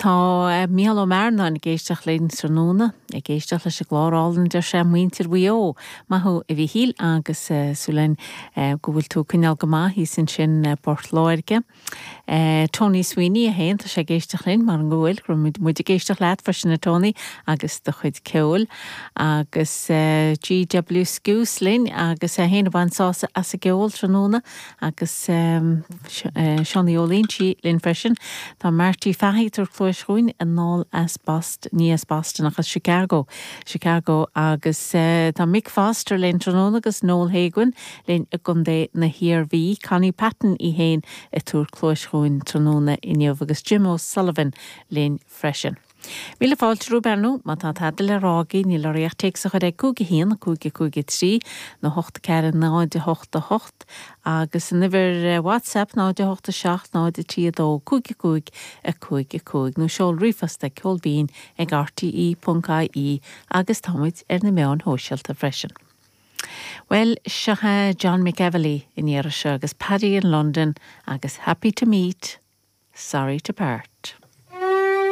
Tá Mícheál Ó Mearnáin ag éisteacht linn tráthnóna, ag éisteacht leis an gclár álainn, deir sé, Muintir Mhaigh Eo. Maith thú a Mhíchíl agus súil againn go bhfuil tú ag coinneáil go maith thíos ansin i bPort Láirge. Tony Sweeney é féin, tá sé ag éisteacht linn, mar go bhfuil, go raibh muid ag éisteacht leat freisin a Tony agus do chuid ceoil. Agus GW Skuse linn agus é féin ag baint sásamh as an gceol tráthnóna agus Seánie Ó Loinsigh linn freisin. Tá Marty Fahey ag tabhairt cluais dhúinn anall as Boston, ní as Boston ach as Chicago, Chicago agus tá Mick Foster linn tráthnóna agus Noel Haguin linn i gContae na hIarmhí, Connie Patton í féin ag tabhairt cluais dhúinn tráthnóna inniu agus Jim O'Sullivan linn freisin. Míle fáilte romhaibh ar ndóigh, má tá tada le rá agaibh níl oraibh ach téacs a chur ag 5 1 5 5 3 nó 8 4 0 8 8 agus an uimhir WhatsApp 0 8 7 0 3 2 5 5 5 5 nó seol ríomhphost ag ceolbhinn ag rte.ie agus tá muid ar na meáin shóisialta freisin. Bhuel, seo é John McEvilly an iarraidh seo agus Paddy in London agus Happy to Meet, Sorry to Part.